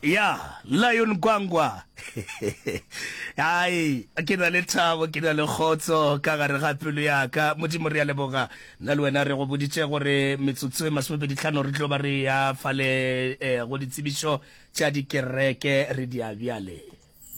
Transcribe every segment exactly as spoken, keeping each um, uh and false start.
Ya, Lion Gwangwa. Ai, ke na le thabo, ke na le kgotso ka gare ga pelo ya ka. Modimo re a leboga. Nna le wena re go boditše gore metsotso e masomepedi tlhano re tlo ba re ya fale eh, go ditsebišo tša dikereke re di a bjale.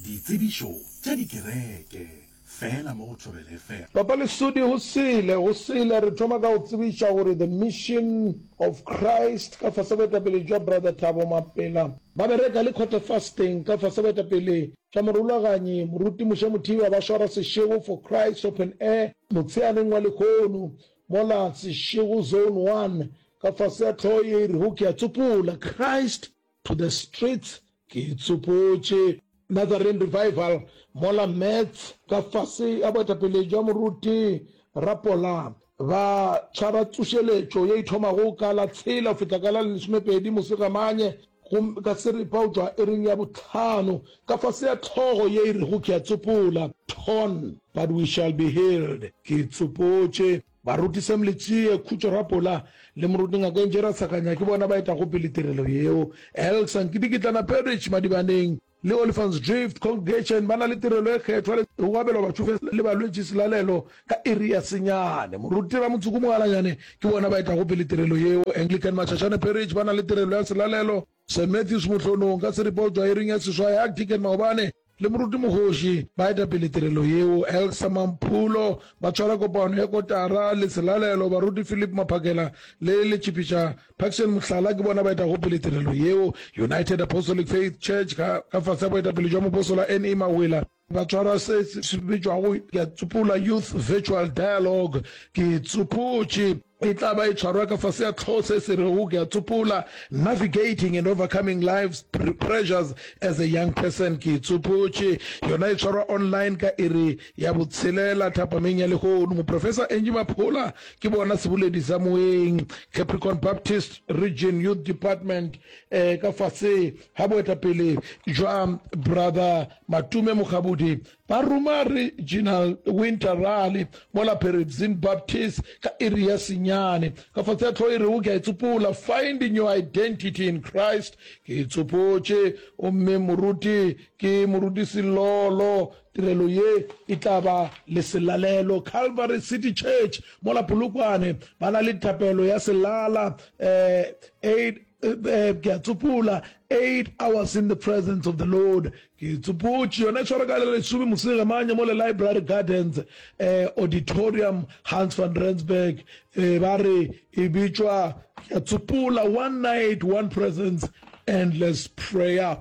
Ditsebišo tša dikereke, fela mo go Thobela F M. Papa Lesodi, Go sele, go sele, re thoma ka go tsebiša gore The Mission of Christ ka fase boetapele jwa Brother Thabo Mapela, ba bereka le Quarter Fasting ka fase boetapele jwa morulaganyi Moruti Moshe Mothiba ba swara Seshego for Christ Open Air motsheaneng wa lehono mola Seshego Zone One ka fase ya hlogo ye e rego Ke a Tsopola, Christ to the Streets, Ke Tsopotše. Nazarene Revival mola Mets ka fase ya boetapele jwa Moruti Rapola ba tshwara tsošeletšo ye e thomago ka la tshela go fihla ka la lesomepedi Mosegamanye gomme ka seripa go tšwa iring ya bohlano ka fase ya hlogo ye e rego Ke a Tsopola, Torn But We Shall Be Healed, Ke Tsopotše. Baruti Sam Letsie, Khutšo Rapola le Moruti Ngaka Enje Rasakanya ke bona ba etago pele tirelo yeo. Elsa Nkidikitlana Parish, Madibaneng, le Olifants Drift Congregation ba na le tirelo e kgethwa le go abelwa batšofe le balwetši selalelo ka iri ya senyane. Moruti Ramotsuku Mogalanyane ke bona ba etago pele tirelo yeo. Anglican Mashashane Parish ba na le tirelo ya selalelo Saint Matthews Mohlonong ka seripa go tšwa iring ya seswai. Archdeacon Maobane le Moruti Mogoši ba eta pele tirelo yeo. Elsa Mamphulo ba tshwara kopano ya kotara le selalelo. Baruti Philip Maphakela le Letšhipiša Parkson Mohlala ke bona ba etago pele tirelo yeo. United Apostolic Faith Church ka ka fase ga boetapele jwa Mopostola N E Mawela ba tshwara se se bitšwago ke a tsopola Youth Virtual Dialogue. Ke tsopotše e tla ba e tshwarwa ka fase ya hlogo se se rego ke a tsopola Navigating and Overcoming Life's Pressures as a Young Person. Ke tsopotše yona e tshwarwa online ka iri ya botshelela thapameng ya lehono. Moprofesa Angie Maphola ke bona seboledi sa moeng. Capricorn Baptist Region Youth Department eh, ka fase ga boetapele jwa Brother Matume Mokgabudi ba roma Regional Winter Rally mola Peribzin Baptist ka iri ya senyane. Ka fase ya hlogo e rego Ke a Itsopola, Finding Your Identity in Christ, Ke itsopotše, gomme moruti ke Moruti Selolo. Tirelo ye e tla ba le selalelo Calvary City Church mola Polokwane ba na le thapelo ya selala eh, eight eh, ke a tsopola, eight hours in the presence of the Lord. Ke tsopotše yona e tshwara ka le lesome mosegamanye mo le Library Gardens eh, Auditorium Hans van Rensburg eh, ba re e bitšwa ke a tsopola one night one presence endless prayer.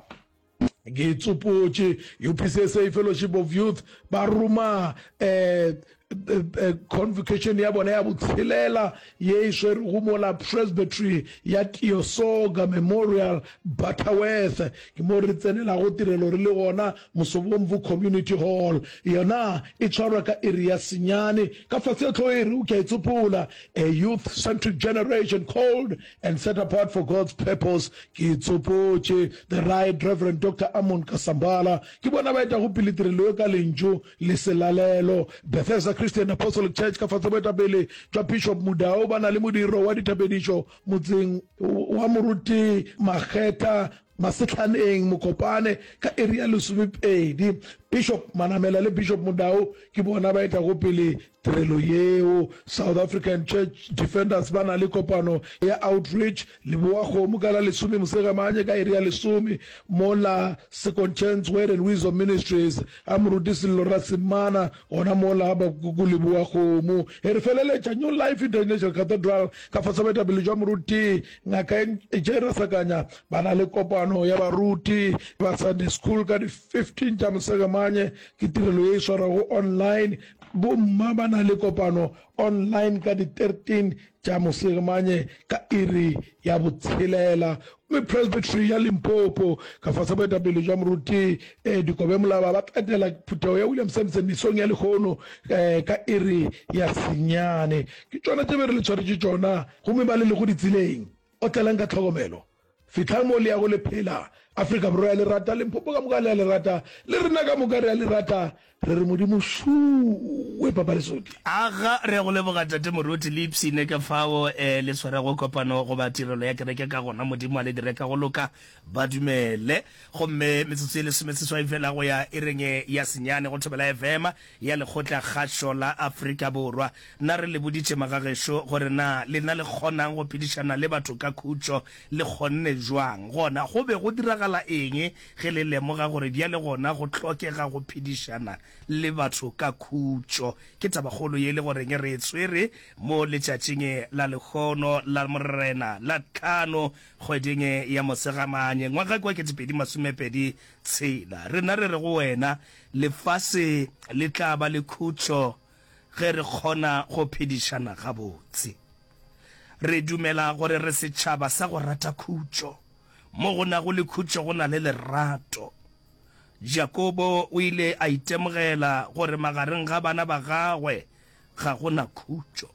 Ke tsopotše U P C S A Fellowship of Youth ba roma eh, convocation ya bona ya botshelela ye e swerego mola Presbytery ya Tiosoga Memorial Butterworth. Ke mo re tsenelago tirelo re le gona Mosobomvu Community Hall. Yona e tshwarwa ka iri ya senyane. Ka fase ya hlogo e re o ke a e tsopola, A Youth Centric Generation Called and Set Apart for God's Purpose. Ke tsopotše The Right Reverend Doctor Amon Kasambala ke bona ba etago pele tirelo ye ka lentšu le selalelo. Bethesda Christian Apostolic Church ka fase boetapele jwa Bishop Mudau ba na le modiro wa dithapedišo motseng wa Moruti Makgetha Masehlaneng Mokopane ka iri ya lesomepedi. Bishop Manamela le Bishop Mudau ke bona ba etago pele tirelo yeo. South African Church Defenders ba na le kopano ya outreach Leboa-kgomo ka la lesome Mosegamanye ka iri ya lesome mola Second Chance Word and Wisdom Ministries a Moruti Sello Rasemana gona mola ba ko Leboa-kgomo. E re feleletša New Life International Cathedral ka fase boetapele jwa Moruti Ngaka J Rasakanya ba na le kopano ya baruti ba Sunday School ka di fifteen tša Mosegamanye. Ke tirelo ye e swarwago online. Bomma ba na le kopano online ka di thirteen tša Mosegamanye ka iri ya botshelela. Gomme Presbytery ya Limpopo ka fase boetapele jwa Moruti Dikobe Molaba ba tla etela phuthego ya William Sampson mesong ya lehono ka iri ya senyane. Ke tšona tše be re le tshwaretše tšona. Gomme ba le lego ditseleng, otlelang ka tlhokomelo. Fihlang mo le yago le phela. Afrika Borwa ya le rata, Limpopo ka moka le a le rata, le rena ka moka re a le rata. Re re Modimo šuwe, Papa Lesodi. Aga, re a go leboga Tate Moruti, le ipshine ka fao le swarego kopano goba tirelo ya kereke ka gona. Modimo a le dire ka go loka, ba dumele. Gomme metsotso ye lesomeseswai fela go ya iring ya senyane go Thobela F M ya Lekgotla Kgašo la Afrika Borwa. Na re le boditše magagešo gore na lena le kgonang go phedišana le batho ka khutšo? Le kgonne bjang? Gona go be go diragala eng ge le lemoga gore bjale gona go hlokega go phedišana le batho ka khutšo? Ke tabakgolo ye e le goreng re e tshwere mo letšatšing la lehono la Morena la tlhano kgweding ya Mosegamanye ngwaga kwa ketepedi masomepedi tshela. Rena re re go wena, lefase le tla ba le khutšo ge re kgona go phedišana gabotse. Re dumela gore re setšhaba sa go rata khutšo. Mo go nago le khutšo go na le lerato. Jakobo o ile a itemogela gore magareng ga bana ba gagwe ga go na khutšo.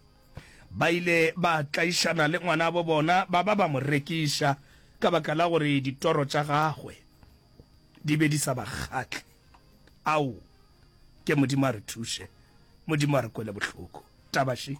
Ba ile ba tlaišana le ngwanabo bona ba ba ba mo rekiša ka baka la gore ditoro tša gagwe di be di sa ba kgahle. Ao, ke Modimo a re thuše, Modimo a re kwele bohloko. Taba še.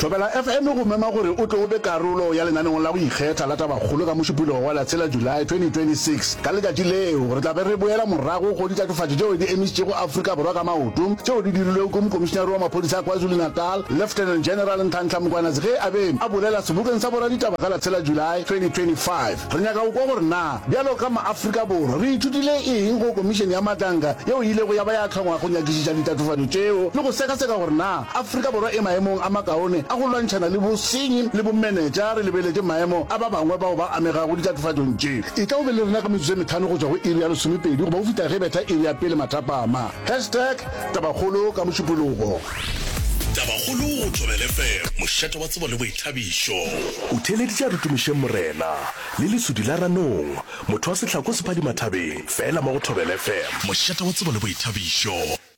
Thobela F M e go mema gore o tle o be karolo ya lenaneong la go ikgetha la Tabakgolo ka Mošupologo wa la tshela July twenty twenty six Ka letšatši leo, re tla be re boela morago go ditatofatšo tšeo di emišitšego Afrika Borwa ka maoto, tšeo di dirilwego ke Mokomišinare wa Maphodisa a KwaZulu-Natal, Lieutenant General Nhlanhla Mkhwanazi ge a be a bolela sebokeng sa boraditaba ka la tshela July twenty twenty five Re nyaka go kwa gore na bjalo ka maAfrika Borwa re ithutile eng go Komišene ya Madlanga yeo e ilego ya ba ya hlongwa go nyakišiša ditatofatšo tšeo le go sekaseka gore na Afrika Borwa e maemong a makaone a go lwantšhana le bosenyi le bomenetša re lebeletše maemo a ba bangwe bao ba amegago ditatofatšong tše. Etla o be le rena ka metsotso e mehlano go tšwa go iri ya lesomepedi goba go fihla ge betha iri ya pele mathapama. Hashtag Tabakgolo ka Mošupologo. Tabakgolo go Thobela F M, mošate wa tsebo le boithabišo. O theeleditše a re tumišeng Morena, le lesudi la ranong, motho wa sehlako sephadimathabeng, fela mo go Thobela F M. Mošate wa tsebo le boithabišo.